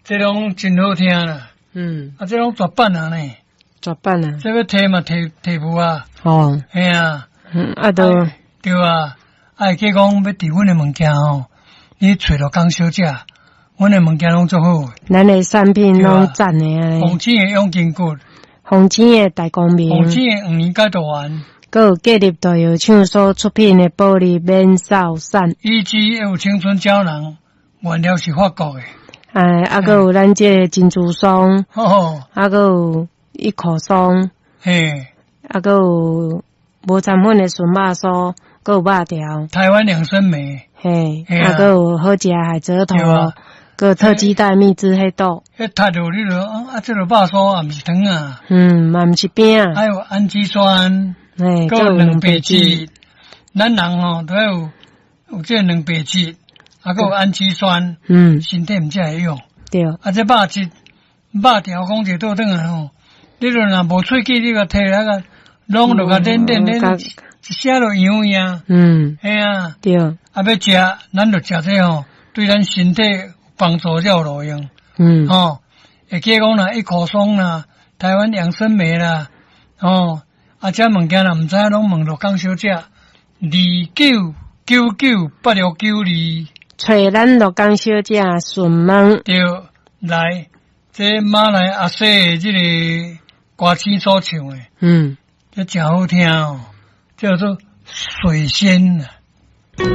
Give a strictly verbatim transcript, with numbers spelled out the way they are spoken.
這攏真好聽啦。嗯，啊，這攏絕版啊呢。絕版啊。這欲提嘛提提無啊。哦。嘿啊。嗯，啊都。對啊，啊會記講欲佇阮的物件吼，你揣鹿港小姐，阮的物件攏足好。咱的產品攏讚的啊。鳳青的養筋骨。鳳青的大光明。鳳青的黃連解毒丸。閣有建立大藥廠所出品的保利免瘦散。以及有青春膠囊，原料是法國的。哎，啊，閣有咱這個珍珠霜，啊，閣有一口霜，嘿，啊，閣有無摻粉的純肉酥，閣有肉條。台灣兩生梅，嘿，啊，閣有好食海蜇頭，閣有特雞蛋蜜汁黑豆。彼讀著你著啊，這个肉酥也毋是糖啊，嗯，嘛毋是餅。還有氨基酸，嘿，閣有蛋白質，咱人吼都要有有這個蛋白質。啊，閣有氨基酸，嗯，身體毋才會用。對。啊，這肉質肉條講一倒轉來吼，你著若無喙齒，你共提來個，攏就共練練練，一寫就營養。嗯。嘿啊。對。啊，欲食，咱就食這吼，對咱身體幫助才有路用。嗯。吼，會記講啦，一口霜啦，台灣養生酶啦，吼，啊，這物件若毋知影，攏問鹿港小姐，二九九九八六九二。揣咱鹿港小姐詢問。對，來，這馬來阿西的這個歌星所唱的，嗯，這誠好聽哦，叫做水仙啊。